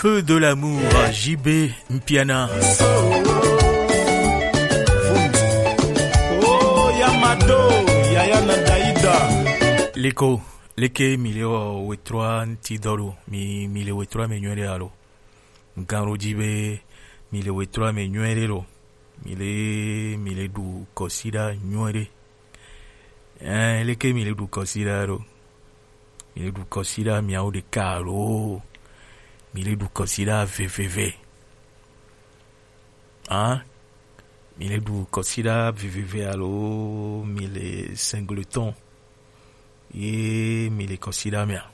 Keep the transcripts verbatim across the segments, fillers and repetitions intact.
Que de l'amour, J B Mpiana. Oh, Yamado, Yaya Nadaida. Leko, leke mi le o wetrua nti dɔlu, mi, mi le wetrua me nyuɛre alo. Nkan ro ji be, mi le wetrua me nyuɛre lo. Mi le, mi le du kɔsida nyuɛre. Eh, leke mi le du kɔsida lo. Mi le du kɔsida miawo ɖeka alo. Mi le du kɔsida veveve. Ah, mi le du kɔsida veveve alo mi le singleton. Ye mi le kɔsida mea.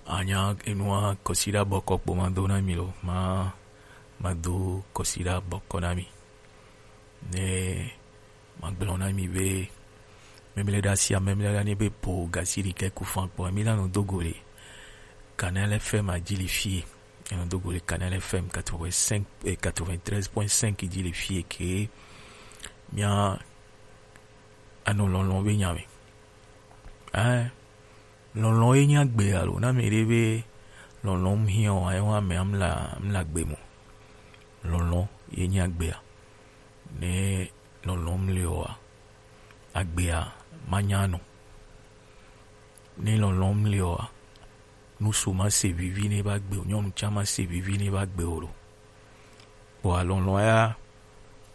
Anya enua kɔsida bɔkɔ kpo ma do na mi lo. Ma, ma do kɔsida bɔkɔ na mi. Ne magblɔ na mi be, memle ɖe asia, memle ɖe ane be po gasiri ke ku fan kpɔ, mi la nɔ do go le Canal F M a ji le fie. Enɔ do go le Canal F M quatre-vingt-cinq, eh, quatre-vingt-treize point cinq ji le fie ke mia anɔ lɔlɔn be nya me. Eh, lɔlɔn ye nya gbe alo, na me ɖe be lɔlɔn hiɔ, ayo ame amla, amla gbe mo. Lɔlɔn ye nya gbea. Ne lɔlɔ̃m le oa, agbea manya nɔ. Ne lɔlɔ̃m le oa, nusu ma se vivi ne va gbe o, nyɔnu tsã ma se vivi ne va gbe o lo. Kpɔa lɔlɔ̃ ya,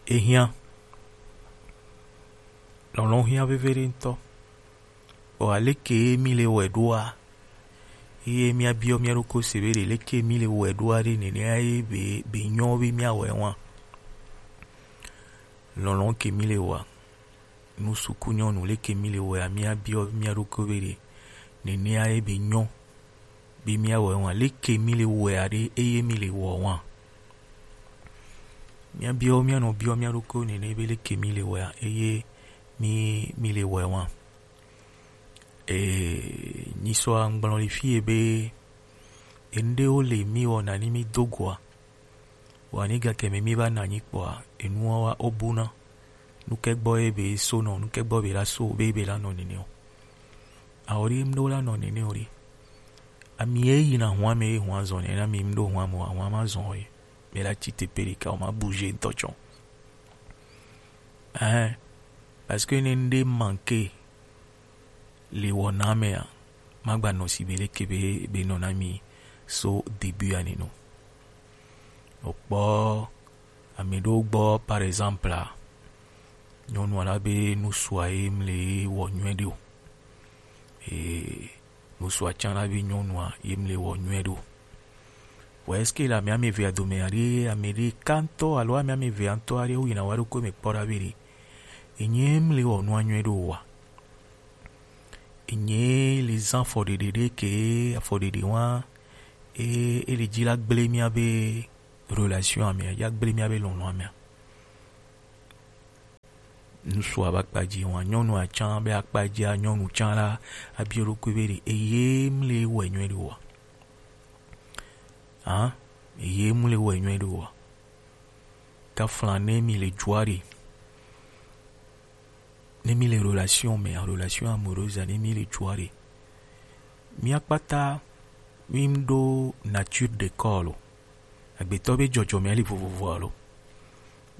ehiã. Lɔlɔ̃ hiã veviɖe ŋutɔ. Vɔ aleke ye mi le wɔe ɖoa? Eye míabiɔ mía ɖokui se be ɖe leke mi le wɔe ɖoa ɖe nenea ye be, be nyɔ be míawɔe wa? Lɔlɔ̃ ke mi le wɔa? Nu suku nyɔnu leke mi le wɔea? Míabiɔ mía ɖokui be ɖe nenea ye be nyɔ be míawɔe wa? Leke mi le wɔea ɖe eye mi le wɔ wa? Míabiɔ, míanɔ biɔ mía ɖokui nene be leke mi le wɔea eye mi, mi le wɔe wa? Ee, nyisɔ agblɔ le fie be, enuɖewo le mi wɔna ni mi do goa, vɔa ni gake mɛ mi va na anyi kpɔa, enuwo wa wo buna. Nuke gbɔ ye be so nɔ, nuke gbɔ be la so, be, be la nɔ nene o. Awo ɖe, mɖo la nɔ nene o ɖe. Ami ye yina hua me, ye hua zɔn ne na mi, mɖo hua mo, hua ma zɔn o ye. Be la tsi teƒe ɖeka, o ma bouger ŋutɔ tsɔ. Ɛhɛn, parce que ne ŋɖe manquer le wɔna mea, magba nɔ si be leke be, be nɔ na mi so début ya nene o. Okpɔ ame ɖewo gbɔ, par exemple, a, nyɔnua la be nusua ye mle wɔ nyuie ɖe o. Ee, nusua tsã la be nyɔnua ye mle wɔ nyuie ɖe o. Vɔ est-ce que le ame ame evea dome aɖe, ame ɖeka ŋutɔ alo ame ame evea ŋutɔ aɖe woyina wa ɖokui me kpɔ ɖa be ɖe enye mle wɔ nua nyuie ɖe o wa? Enye le zã afɔɖeɖe ɖe ke afɔɖeɖe wa e, e le dzi la gblẽ míabe relation amea, ya gblẽ míabe lɔlɔ̃ amea. Ŋutsua be akpa dzi wa, nyɔnua tsã be akpa dzia, nyɔnu tsã la, abiɔ eɖokui be ɖe eye mle wɔe nyuie ɖe oa? Hã? Eye mle wɔe nyuie ɖe oa? Tafla ne mi le dzoa ɖe, ne mi le relation mea, relation amoureuse, ne mi le dzoa ɖe, mía kpata mi ɖo nature de corps lo. Agbetɔ be dzɔdzɔme li vovovo alo.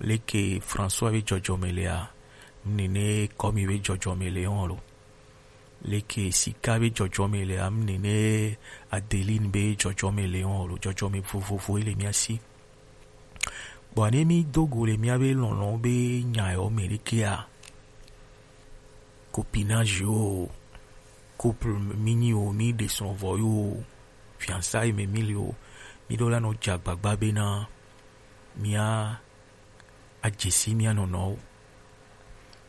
Leke François be dzɔdzɔme lea, nene Kɔmi be dzɔdzɔme le hɔn lo. Leke Sika be dzɔdzɔme lea, nene Adeline be dzɔdzɔme le hɔn lo. Dzɔdzɔme vovovo le mía si. Bon, ne mi do go le mía be lɔlɔ̃ be nya yɔ me ɖekea, copinage yo, couple mi nyi o, mi ɖe srɔ̃ vɔ yo, fiançailles me mi le o, mi ɖo la nɔ dze agbagba bena mía adze si mía nɔnɔwo.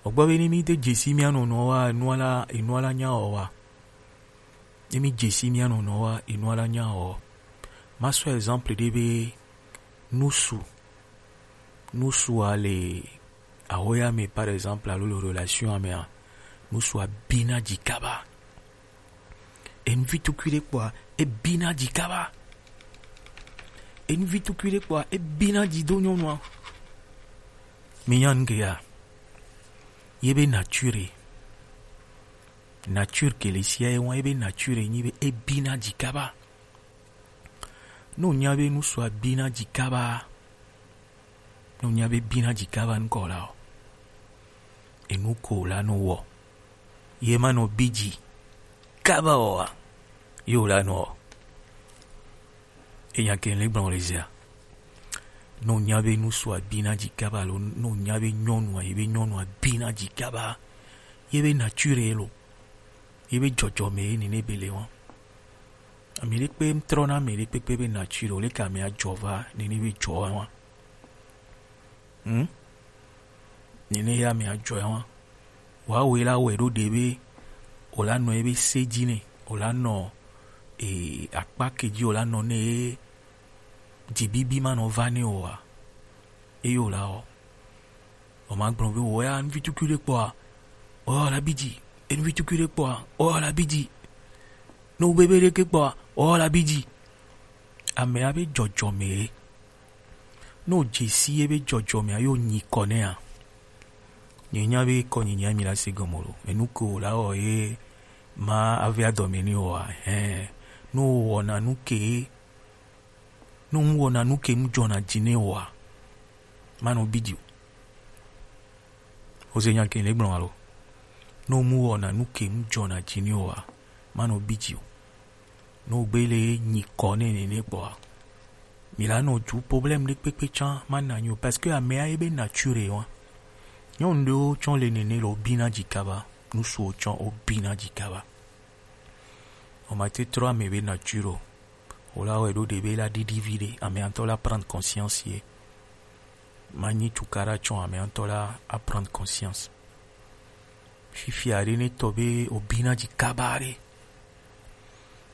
Ogbɔ be ne mi de dze si mía nɔnɔwo wa, enua la, enua la nya wɔ wa. Ne mi dze si mía nɔnɔwo wa, enua la nya wɔ. Ma sɔ exemple ɖe be nusu, nusua le ahoya me, par exemple, alo le relation amea, nusua bina dzi kaba. Enuvi tukui ɖe kpɔa, ebina dzi kaba. Enuvi tukui ɖe kpɔa, ebina dzi do nyɔnua. Mi nya nu ke ya? Ye be nature. Nature ke le sia ye wa, ye be nature nyi be ebina dzi kaba. Ne o nya be nusu a bi na ji kaba, ne o nya be bi na ji kaba nukɔ la o, enu ko o la nɔ wɔ. Ye ma nɔ bi ji kaba o a, ye o la nɔ wɔ. E nya ke le gblɔ le zia. Ne o nya be nusu a bi na ji kaba lo, ne o nya be nyɔnu a, ye be nyɔnu a bi na ji kaba, ye be nature lo, ye be jɔjɔme ye nene be le wa. Ame ɖe kpe trɔ na ame ɖe kpekpe be nature lo, leke ame a jɔ va nene be jɔ wa. Hmm? Nene ya ame a jɔ wa. Wa we la wɛ ɖo ɖe be o la nɔ ebe se ji ne, o la nɔ e akpa ke ji o la nɔ ne e ji bibi ma nɔ va ne o wa. Eyo la o. O ma gblɔ be o ya nuvi tukui ɖe kpɔa, o la bi ji. E nuvi tukui ɖe kpɔa, o la bi ji. No bebe ɖe ke kpɔa, o la bi ji. Ame a be jɔjɔme ye. Ne o dze si ye be jɔjɔme a, ye o nyi kɔ nɛ a. Nye nya be kɔ nyi nya mi la se gɔme lo. Enu ke o la wɔ ye ma ave adɔme ni o a. Hɛn. Ne o wɔna nu ke, ne o wɔna nu ke nu jɔna ji ne o a, ma nɔ bi ji o. O se nya ke le gblɔ alo. Ne o mu wɔna nu ke nu jɔna ji ne o a, ma nɔ bi ji o. Ne o gbe le nyi kɔ nɛ nene kpɔa, mi la nɔ ju problème ɖe kpekpe tsã ma na nyi o, parce que ame a ye be nature wa. Nyɔnu ɖewo tsɔ le nene le o bi na ji kaba, nusu o tsɔ o bi na ji kaba. O ma te trɔ ame be nature o. O la wɛ ɖo ɖe be la ɖiɖi vi ɖe, ame a ŋutɔ la prendre conscience ye. Ma nyi tukaɖa tsɔ ame a ŋutɔ la a prendre conscience. Fifia ɖe ne tɔ be o bi na ji kaba ɖe.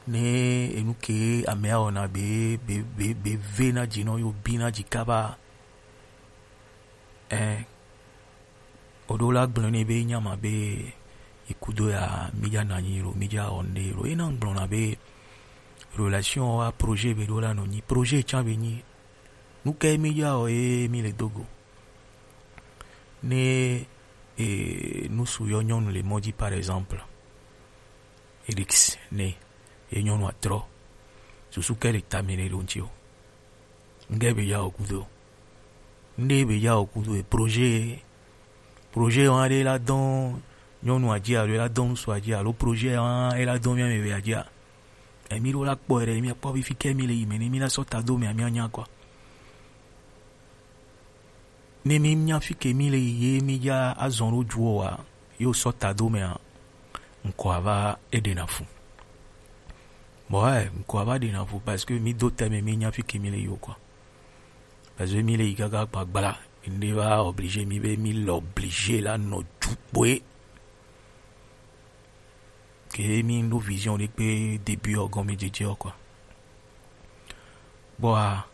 Ne enu ke ame a wɔna be, be, be, be ve na ji nɔ yo bi na ji kaba. Ɛ, o ɖo la gblɔ ne be nya ma be ikudo ya mi ja na nyi lo, mi ja wɔ nde lo. E na gblɔ na be relation wa projet be ɖo la nɔ nyi. Projet tsã be nyi. Nu ke mi ja wɔ ye mi le dogo. Ne, e, nusu yɔ nyɔnu le mɔ ji, par exemple. Elix ne ye nyɔnu a trɔ. Susu ke le tame ne lo ŋti o. Nge be ya o kudo. Nde be ya o kudo e projet. Projet wa ɖe la dɔn nyɔnu a ji alo la dɔn nusu a ji alo projet wa e la dɔn mi ame be a ji a. Emi ɖo la kpɔ ɖe mi kpɔ bi fi ke mi le yi me ne mi la sɔ ta do me a mi a nya kɔ. Ne mi nya fi ke mi le yi ye mi ja azɔn ɖo ju o wa, yo sɔ ta do me a, ŋkɔ ava e ɖe na fu. Bon, ouais, ŋkɔ ava ɖe na fu parce que mi do tɛ me mi nya fi ke mi le yi o quoi. Parce que mi le yi kaka kpa gbla, mi ne va obligé mi be mi le obligé la nɔ ju kpoe. Ke mi ɖo vision ɖe kpe début ɔ gɔme dzedze ɔ quoi. Bɔa,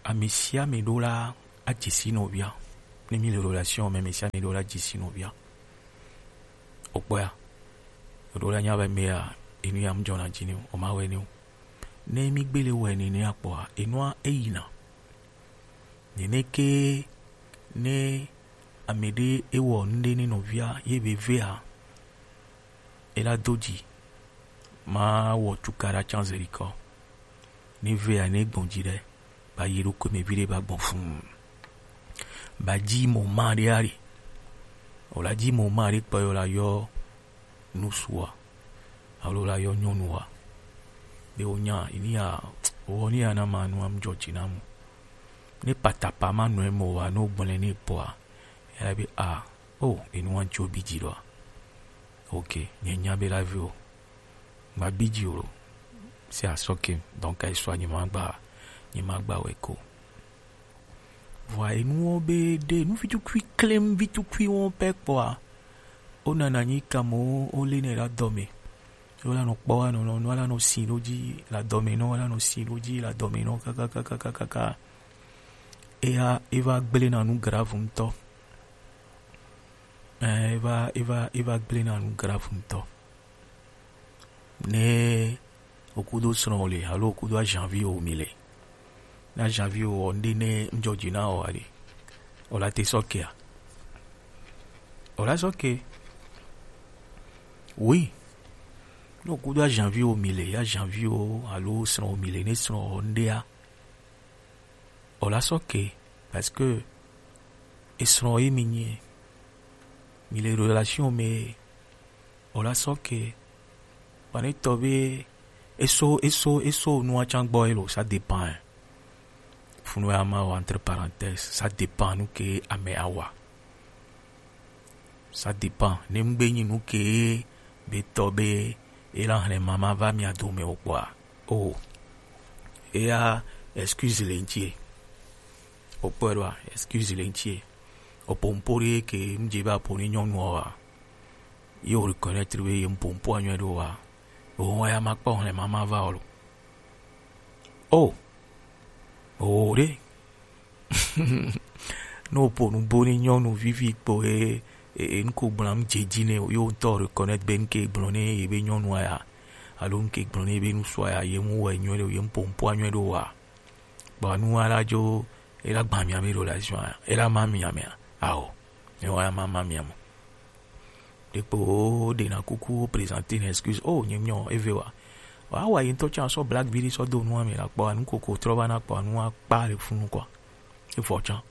ame sia ame ɖo la adze si nɔvia. Ne mi le relation me, ame sia ame ɖo la adze si nɔvia. O kpɔa, o ɖo la nya be mea, enu ya mu jɔna dzi ni o, o ma wɛ ni o. Ne mi gbele wɛ nene akpɔa, enua eyina. Nene ke ne ame ɖe ewɔ nuɖe ne nɔvia ye be vea, ela do dzi, ma wɔ tukaɖa tsã zeli kɔ. Ne vea ne gbɔn dzi ɖe, ba yi ɖokui me vi ɖe ba gbɔn fuu. Ba dzi mɔ ma ɖe ari. O la dzi mɔ ma ɖe kpɔ yɔ la yɔ nusua alo la yɔ nyɔnua. Be o nya, ini ya, o ni ya na ma nu am jɔ dzi na mu. Ne patapa ma nɔ emɔ wa, no gblẽ ne pɔa, ya be a, o, enu wa tso bi dzi ɖoa. Ok, nye nya be la vi o. Ma bi dzi o lo. Se asɔ ke, donc, esɔ nye ma gba, nye ma gba wɛ ko. Vɔa enuwo be ɖe nu vitukui klem vitukui wo pɛ kpɔa, wo nana nyi kamo wo le ne la dɔme. Wo la nɔ kpɔ wa nɔ nɔ nɔ la nɔ si ɖo dzi la dɔme nɔ la nɔ si ɖo dzi la dɔme nɔ kakakakakaka. Eya eva gblẽ na nu grave ŋutɔ. Ɛ, eva eva eva gblẽ na nu grave ŋutɔ. Ne okudo srɔ̃ le alo okudo ajanvi o mi le. Na janvi o ɔnde ne njɔji na o ale. O la te sɔkea. O la sɔke. Oui. Ne o kudo ajanvi wo mi le, ajanvi wo alo srɔ̃ wo mi le, ne srɔ̃ wo ŋɖea, o la sɔ ke, parce que esrɔ̃ ye mi nyi, mi le relation me, o la sɔ ke, kpa ne tɔ be eso eso eso nua can gbɔ ye lo, ça dépend. Funu ya ma wa entre parenthèse, ça dépend nu ke ame awa. Ça dépend. Ne ŋgbe nyi nu ke be tɔ be e la hlẽ mama va mia dome o kpɔa, o, eya excuse le ŋtie. O kpɔe ɖoa, excuse le ŋtie. O po ŋpo ɖe ke ŋdze be apo ne nyɔnu wa, ye o reconnaître be ye ŋpo ŋpo anyɔe ɖo wa, o wa ya ma kpɔ hlẽ mama va o lo. O, o ɖe. Ne o po nu bo ne nyɔnu vivi kpo e, e, e nuko gblɔm dze dzi ne o, yo ŋutɔ reconnaître be nuke gblɔ ne ye be nyɔnua ya, alo nuke gblɔ ne ye be nusua ya, ye mu wɔ nyuie ɖe o, ye mu po ŋpo anyuie ɖo wa. Kpɔ nu wa la dzo, e la gba mia me ɖo la zua, e la ma mia mea, ao, ne wa ma ma mia mo. Ɖekpo ɖena kuku présenter une excuse. Oh, nye miɔ eve wa. Wa wa yi ŋutɔ tsã sɔ black vili sɔ do nua me la kpɔ anu koko trɔ va na kpɔ anu akpa le funu kɔ. Evɔ tsã.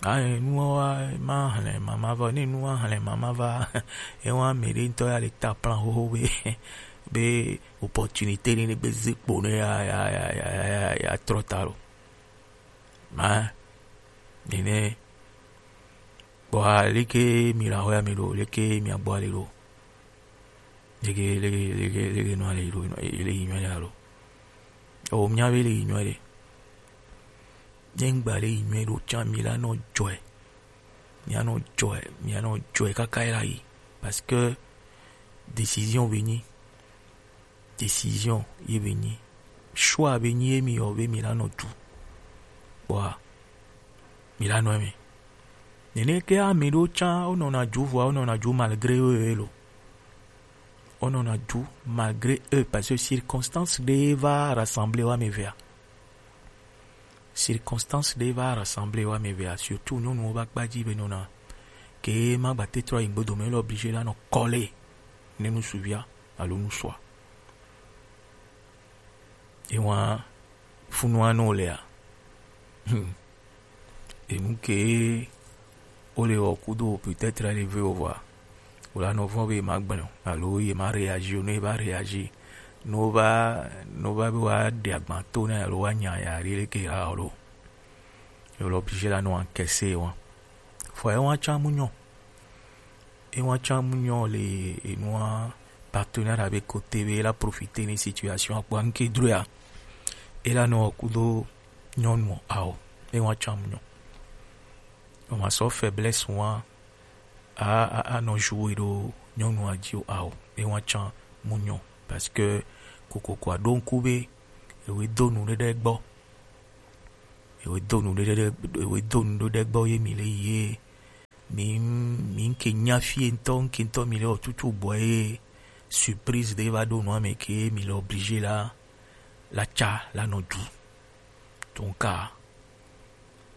Ayi nua wa ma hlẽ mama va, ne nua hlẽ mama va. Ewa me ɖe ŋutɔ ya le ta plan xoxo be be opportunité ne ne gbe ze kpo ne ya ya ya ya ya ya trɔ ta lo. Ma nene Kpɔa leke mi la xɔya mi ɖo, leke mi agbɔ ale ɖo, leke leke leke leke nɔ ale ɖo, ele yi nyuie ɖe alo? O mia be le yi nyuie ɖe. Ne ŋgba le yi nyuie ɖo tsã mi la nɔ dzɔe, mi anɔ dzɔe, mi anɔ dzɔe kaka yi la yi, parce que décision be nyi. Décision ye be nyi, choix be nyi ye mi yɔ be mi la nɔ du. Kpɔa mi la nɔ eme. Nene ke ame ɖewo tsã wonɔna du vɔa wonɔna du malgré eux ye lo. Wonɔna du malgré eux parce que circonstance ɖe va rassembler wa me vea. Circonstance ɖe va rassembler wa me vea, surtout nyɔnuwo va kpa dzi be nɔna ke ma gba te trɔ yi ŋgbe dome, ele obligé la nɔ kɔle ne nusuvia alo nusua. Ewa funua no lea. Hmm. Enu ke o le wɔ kudo peut-être ele ve o vɔa, o la nɔ vɔn be ma gblɔ alo ye ma réagir o, ne va réagir, no va no va be wa ɖe agban to ne alo wa nya ya ɖe leke ha o lo. Yo le obligé la nɔ encaisser wa. Fɔ ewa tsã mu nyɔ. Ewa tsã mu nyɔ le enua partenaire be côté be la profiter ne situation akpɔ anke droya. E la nɔ kudo nyɔnu ao. Ewa tsã mu nyɔ. O ma sɔ faiblesse wa a a a nɔ jouer ɖo nyɔnua dzi o ao. Ewa tsã mu nyɔ parce que kokoko aɖo ŋku be ewe do nu ɖe ɖe gbɔ. Ewe do nu ɖe ɖe ewe do nu ɖe ɖe gbɔ ye mi le ye mi mi ŋke nya fie ŋutɔ ŋke ŋutɔ mi le wɔ tutu gbɔ ye surprise ɖe va ɖo nua me ke mi le obligé la la tsa la nɔ du. Donc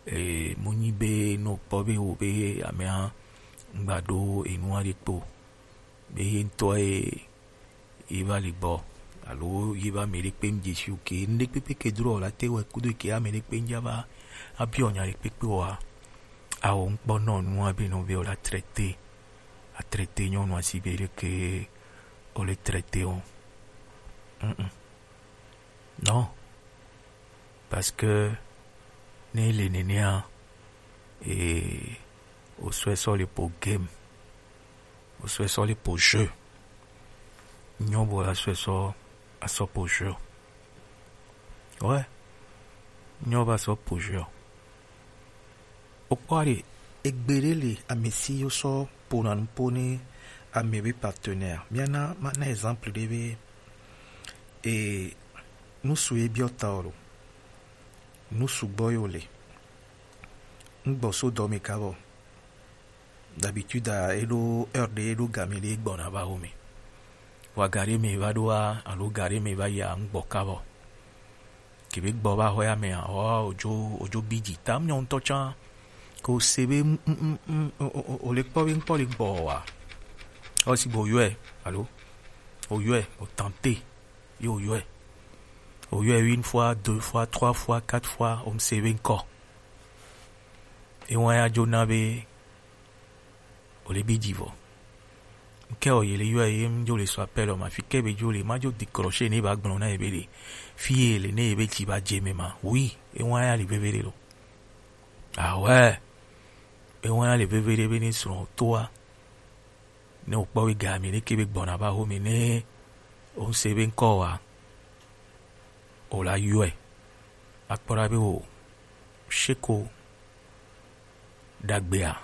e mo nyi be no kpɔ be wo be amea ŋgba ɖo enua ɖe kpo be ye ŋutɔ ye ye va li gbɔ alo ye va mɛ ɖe kpe ŋdze si o ke ŋɖe kpekpe ke dro la te wɛ kudo ke ame ɖe kpe ŋdza va abiɔ nya ɖe kpekpe wa. Awo ŋkpɔ nɔ nu abe nɔ be o la traité a traité nyɔnu asi be ɖe ke o le traité o. Mm-mm. Non. Parce que ne le nenea e o sɔ sɔ le po game. O sɔ sɔ le po jeu. Nyɔ bo la sɔ sɔ a sɔ po jeu. Ouais. Nyɔ ba sɔ po jeu. O kpɔ ɖe egbe ɖe le ame si yo sɔ pona nu po ne ame be partenaire. Mia na ma na exemple ɖe be e nusu ye biɔ ta o lo. Nusu gbɔ yo le. Ŋgbɔ so dɔ me kabɔ. D'habitude a eɖo heure ɖe eɖo game ɖe gbɔna va xɔme. Wa gari me va ɖoa alo gari me va yia ŋgbɔ kabɔ. Kebe gbɔ va xɔya mea, ɔ odzo odzo bi dzi tam nyɔ ŋutɔ tsã. Ko se be o le kpɔ be ŋkpɔ le gbɔ wa. Ɔ si gbɔ yɔe alo O yɔe, o tenter, ye o yɔe. O yɔe une fois, deux fois, trois fois, quatre fois, o mu se be ŋkɔ. E wa ya jo na be o le bi ji vɔ. Ŋkɛ o ye le yɔe ye mu jo le sɔ appel o ma, fi ke be jo le ma jo décrocher ne ba gblɔ na ye be le. Fi ye le ne ye be ji ba je me ma. Oui, e wa ya le veve le lo. Ah ouais. E wa ya le veve le be ne srɔ̃ toa. Ne o kpɔ be ga mi ne ke be gbɔna ba ho mi ne o se be ŋkɔ wa. O la yɔe. A kpɔ ɖa be o sheko ɖagbea.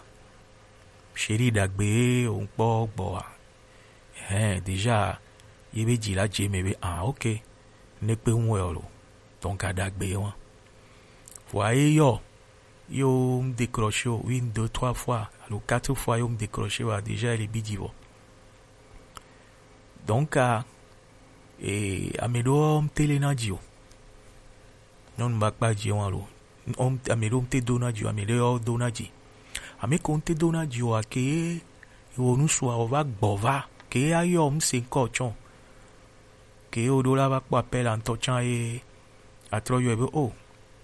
Sheri ɖagbe o ŋkpɔ gbɔ wa. Hɛn, déjà, ye be ji la je me be, ah, ok. Ne kpe ŋu wɛ o lo. Donc, a ɖagbe wa. Vɔa ye yɔ, yo mu décrocher o, une, deux, trois fois, alo quatre fois yo mu décrocher wa, déjà, ele bi ji vɔ. Donc, a, e, ame ɖewo mu te le na ji o. Nyɔnu ba kpa ji wa lo. Ame ɖewo mu te do na ji o, ame ɖewo do na ji. Ame ko mu te do na ji o, a ke ye wo nu sua o va gbɔ va. Ke ye a yɔ mu se ŋkɔ tsɔ. Ke ye o ɖo la va kpɔ appel a ŋtɔ tsã ye a trɔ yɔe be, oh,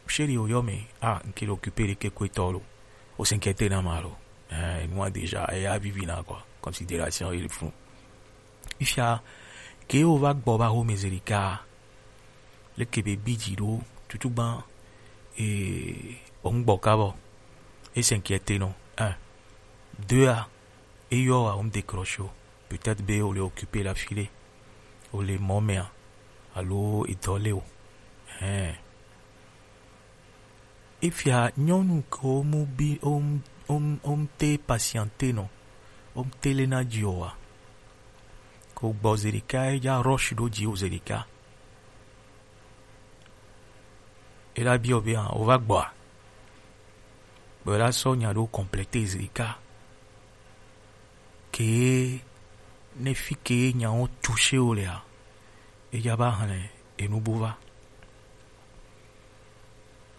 chéri, o yɔ mi. Ah, ŋke le occupé ɖe ke ko etɔ lo. O s'inquiéter na ma lo. Eh, nua déjà, e ya vivi na quoi. Considération il faut. Ifia, ke o va gbɔ va ho me zeli ka. Leke be bi ji ɖo, tutu gban, e, o ŋgbɔ ka bɔ. E s'inquiéter nɔ. Un. Deux a, e yɔ wa, o mu décrocher o. Peut-être be o le occupé la file. O le mɔ mea. Alo e dɔ le o. Hein. Efia nyɔnu ke wo mu bi, wo mu, wo mu, wo mu te patienter nɔ, wo mu te le na ji o wa. Ko gbɔ zeɖeka, e ja rush ɖo ji o zeɖeka. E la biɔ be, ah, o va gbɔa? Bɔ e la sɔ nya ɖo compléter zeɖeka. Ke ne fi ke nya wo toucher o lea, e ja ba hlɛ enu bo va.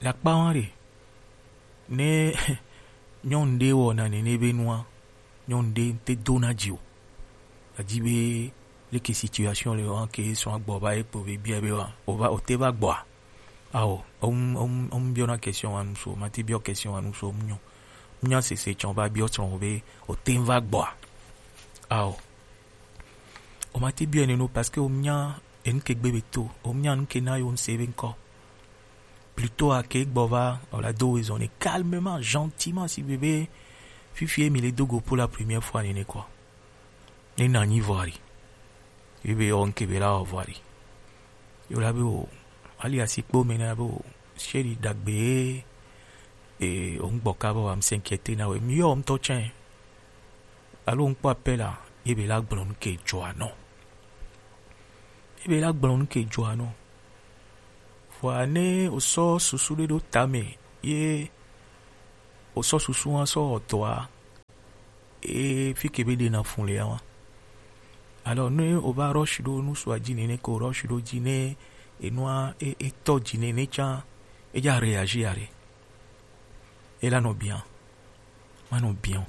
Le akpa wa ɖe, ne nyɔnu ɖe wɔna nene be nua, nyɔnu ɖe te dona dzi o. Adi be leke situation le wa ke sɔ agbɔ va ekpo be bia be wa, o va, o te va gbɔa? Ao, o mu, o mu, o mu biɔna question wa nu so, ma te biɔ question wa nu so, mu nyɔ. Mu nya sese tsɔ va biɔ tsɔ be o te va gbɔa? Ao. O ma te biɔ nene o parce que o mu nya enu ke gbe be to, o mu nya nu ke na yo n se be nkɔ. Plutôt a ke gbɔ va, o la do raison ne calmement, gentiment, si bébé, fifi mi le dogo pour la première fois nene quoi. Ne na nyi voir. Ebe o nke be la o voir. Yo la be o, ali asi kpo me na be o, chéri dagbe, e, o ngbɔ ka bo am s'inquiéter na we, mi yo m to chen. Alo ŋkpɔ appel a, ye be la gblɔ nu ke dzɔa nɔ. Ye be la gblɔ nu ke dzɔa nɔ. Vɔa ne o sɔ susu ɖe ɖo tame, ye o sɔ susu wa sɔ wɔ dɔa, e fi ke be ɖe na fun le ya wa. Alors ne o va rush ɖo nu sua dzi nene ko rush ɖo dzi ne enua e, e tɔ dzi nene tsã, e ja réagir aɖe. E la nɔ bien. Ma nɔ bien o.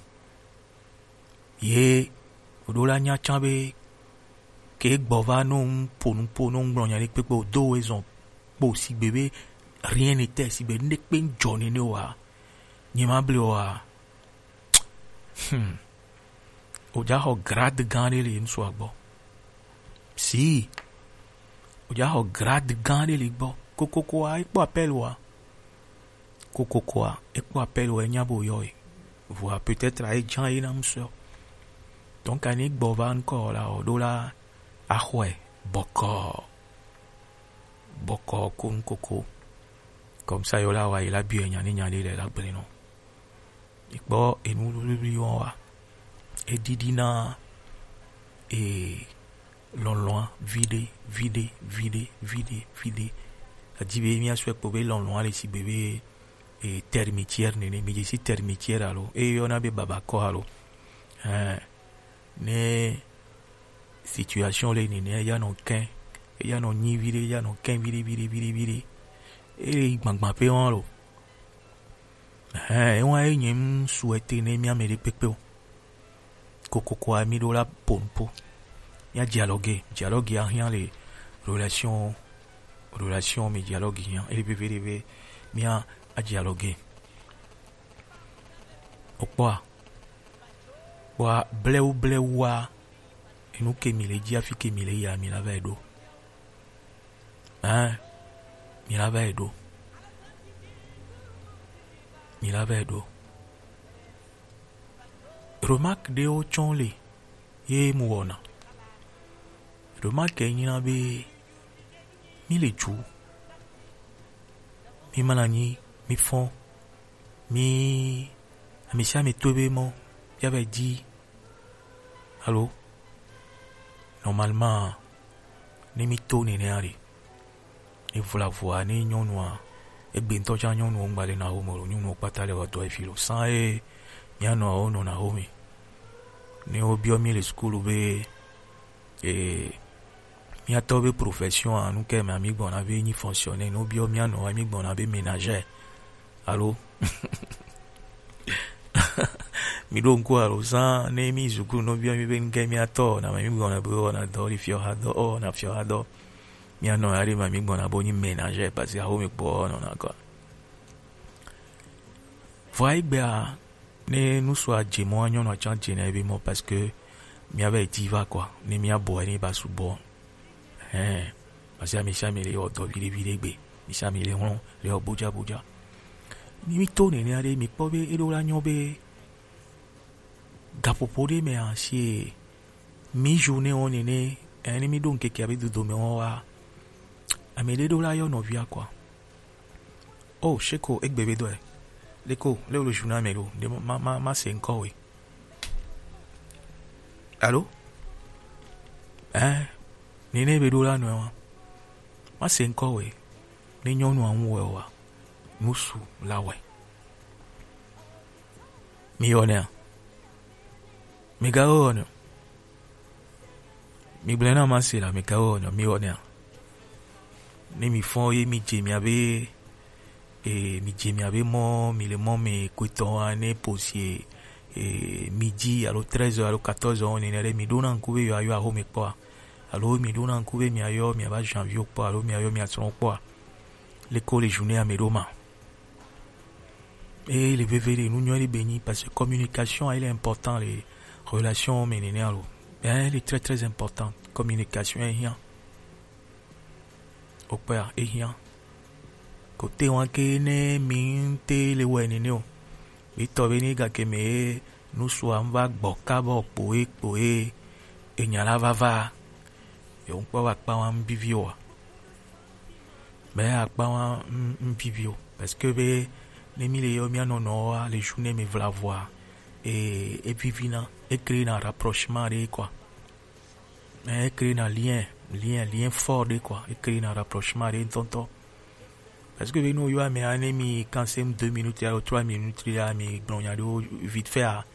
Ye o ɖo la nya tsã be ke gbɔ va no ŋ po nu po no ŋ gblɔ nya ɖe kpekpe o do we zɔn kpo sigbe be rien n'était, sigbe nu ɖe kpe ŋ dzɔ nene o wa. Nye ma ble o wa. Hmm. O ja xɔ grade gã ɖe le ŋsua gbɔ. Si. O ja xɔ grade gã ɖe le gbɔ. Kokoko a, e kpɔ appel wa. Kokokoa, e kpɔ appel wɛ nya bo yɔ e. Vɔa peut-être a e jan e na mu sɔ. Donc ani gbɔ va nkɔ la o ɖo la axɔe bɔkɔ bɔkɔ ko nkoko. Comme ça yo la wa yi la biɔ nya ni nya le la gblẽ nɔ. E kpɔ enu wluwlui wɔn wa. E didi na e lɔlɔa viɖe viɖe viɖe viɖe viɖe. Adi be mia sɔ kpɔ be lɔlɔa le si be be e termitière nene, mi dzi si termitière alo e yɔna be babakɔ alo. Ɛɛ, ne situation le nene ya nɔ kɛ, ya nɔ nyi viɖe, ya nɔ kɛ viɖe viɖe viɖe viɖe. E gbagba pe wɔn lo. Ɛɛ, e wɔn e nye ŋsu ete ne mia me ɖe kpekpe o. Kokoko a mi ɖo la po nu po. Mía dialogue, dialogue a hiã le relation, relation mi dialogue hiã. Ele veve ɖe be mía a dialogue. Okpɔa, kpɔa blewu blewu a, enu ke mi le ji afi ke mi le yia mi la va yi ɖo. Hein, mi la va yi ɖo. Mi la va yi ɖo. Remarque ɖewo tsɔ le ye mu wɔna. Remarque nyina be mi le ju, mi ma na nyi, mi fɔn, mi amesiame to be mɔ ya va yi di. Alo, normalement, ne mi to nenea ɖe, ne vlavua ne nyɔnua, egbe ŋutɔ tsã nyɔnuwo ŋgba le na wo me o, nyɔnuwo kpata le wɔ dɔ efi lo san ye mía nɔawo nɔna wo me. Ne wo biɔ mi le sukulu be e mía tɔ be profession a, nu ke me mi gbɔna be nyi fonctionnaire, ne wo biɔ mía nɔa mi gbɔna be ménagère. Alo, mi ɖo ŋku alo san ne mi sukulu no biɔ mi be nu ke mía tɔ na me mi gbɔna be wɔna dɔ li fiɔ ha dɔ, ɔ na fiɔ ha dɔ. Mía nɔ ya ɖe ma mi gbɔna bo nyi ménagère parce que awo mi kpɔ nɔna quoi. Vɔa egbea ne nusua dze mɔ, nyɔnua tsã dze na ebe mɔ parce que mía va yi di va quoi, ne mía bɔ ne ba subɔ. Hein, parce que amesiame le wɔ dɔ viɖe viɖe gbe, amesiame le hlɔn le wɔ bodza bodza. Ni mi to nenea ɖe mi kpɔ be eɖo la nyɔ be gaƒoƒo ɖe me asi mi journée wo nene, eh, ne mi ɖo ŋkeke abe dodome wo wa, ame ɖe ɖo la yɔ nɔvia quoi. Oh, sheko egbe be dɔe. Leko, le wo le journée me ɖo, de ma, ma, ma se ŋkɔ we. Alo? Eh, nene be ɖo la nɔe wa. Ma se ŋkɔ we. Ne nyɔnua ŋu wɛ wa, nusu la wɛ. Mi yɔ nea? Mi ga yɔ nea? Mi gblẽ na ma se la, mi ga yɔ nea? Mi yɔ nea? Ne mi fɔn ye mi dze mia be, e, mi dze mia be mɔ, mi le mɔ me kotɔ wa ne posi, e, midi alo treize heures alo quatorze heures nene ɖe, mi ɖo na ŋku be yɔ ayɔ aho me kpɔa? Alo mi ɖo na ŋku be mi ayɔ mi aba janvier kpɔ, alo mi ayɔ mi asrɔ̃ kpɔa? Leko le journée ame ɖo ma. Et le veve ɖe nu nyɔ ɖe be nyi, parce que communication, il est important, les relations, mais nene alo. Eh, il est très, très important. Communication est rien. Au père, est rien. Kote wan ke ne mi te le wɛ nene o. Mi tɔ be ni gake me nusua va gbɔ kabɔ kpoe kpoe. Enya la va va. Yo ŋkpɔ va kpa wan bivi o. Mais akpa wa m, m vivi o. Parce que be ne mi le yɔ mia nɔnɔ wa le journée me vla voa, e, e vivi na, e créer na rapprochement de quoi. E créer na lien, lien, lien fort de quoi. E créer na rapprochement de tonton. Parce que be no yo ame ane mi quand c'est deux minutes ya trois minutes ya mi gblɔ nya de vite fait a.